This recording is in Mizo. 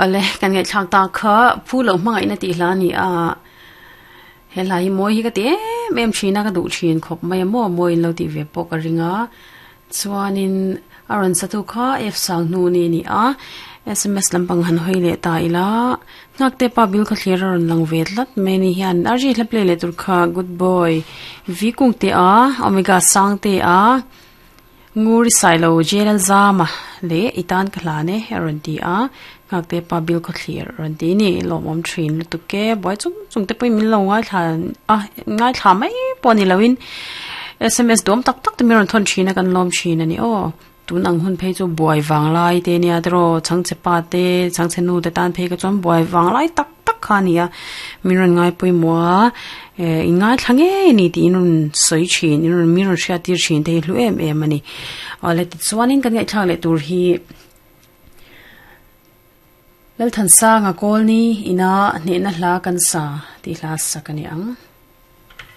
Ale kan ngaih thlak ta kha phu loh hmangaihna tih hla a ni a he hla hi mawi hi ka ti em em thin a ka duh thin khawp mai a maw mawi in lo tih ve pawh ka ring a chuanin a rawn sa tu kha F sang hnu ni a ni a sms lampang han hawi leh ta ila nghak te pa bil khaw thlir a rawn lang ve tlat mai a ni hian a ri hla play leh tur kha good boy v kung te a omega sang te a. Nguri Sailo Jail Zama leh i tan ka hlan e a rawn ti a, Nghakte pa Bill Khawthlir a rawn ti a ni, lawmawm thin lutuk e, buai chung chung te pawhin min lo ngaithla a, ngaithla mai pawh a ni loin sms duam tak tak te min rawn thawn thin a kan lawm thin a ni aw, tun ang hun phei chu buai vang lai te nia tiraw chhangchhe pa te chhangchhe nu te tan phei kha chuan buai vang lai tak tak kha a ni a, min rawn ngaipawimawh a, eh in ngaithla ngei a ni tih in rawn sawi thin in rawn min rawn hriat tir thin te hi hlu em em a ni. Awle tichuanin kan ngaihthlak leh tur hi Lalthansanga Kawlni ina hnehna hla kan sa tih hla sak a ni ang.